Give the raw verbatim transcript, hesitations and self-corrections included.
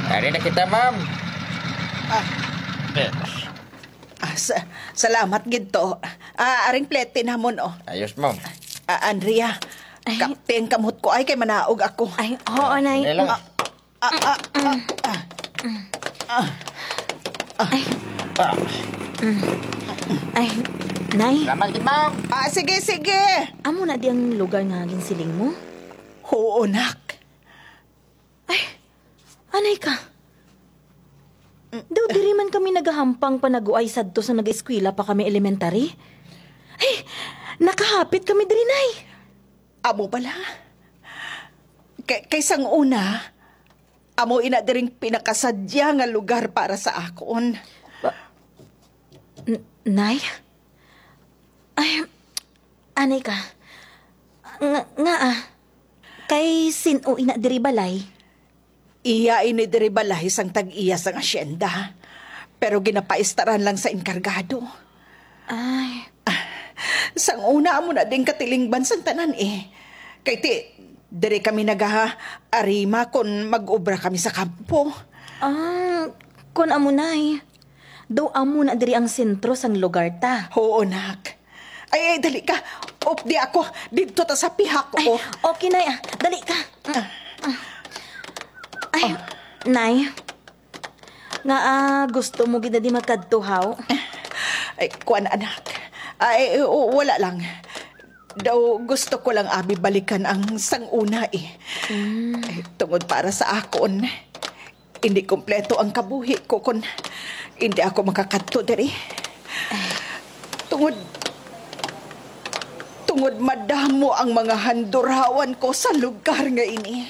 Ari na kita, ma'am. Ah. Yes. Ah, sa-, salamat gid to. Ah, aring plete namon, oh. Ayos, ma'am. Ah, Andrea, Ay. Kapti ang kamot ko ay kay manaog ako. Ay, oo, Nay. Hindi lang. Ah, ah, ah, ah, ah. Ah. Ay. Ah. Mm. Ay, Nay. Salamat gid, ma'am. Ah, sige, sige. Amo na di ang lugar nga ginsiling mo? Oo, nak. Ay, anay ka. Daw diri man kami nagahampang panaguay sadto sa nag-eskwela pa kami elementary. Ay, nakahapit kami diri, Nay. Amo bala? Kay, kay sang una, amo ina diring pinakasadya nga lugar para sa akon. Ba- N- Nay? Ay, anay ka. Nga, nga ah. Kay sin-o ina diri balay? Iya ini diri balay sang tag-iya sang asyenda, pero ginapaistaran lang sa enkargado. Ay. Ah, sang una amo na ding katilingban sang tanan, eh. Kay ti, diri kami nagaha-, arima kon mag-obra kami sa kampo. Ah, kon amo, Nay. Daw amo na diri ang sentro sang lugar ta. Oo, nak. Ay, ay, dali ka. Updi ako. Didto ta sa pihak ko. Ay, okay, Nay, ah. Dali ka. Ah. Ay, Nay. Nga, ah, gusto mo gid na di makadto, haw? Ay, kuwan, anak. Ay, w- wala lang. Daw gusto ko lang abi balikan ang sang una, eh. Mm. Eh, tungod para sa akon, hindi kompleto ang kabuhi ko kon hindi ako makakadto diri. Tungod, tungod madamo ang mga handurawan ko sa lugar nga ini.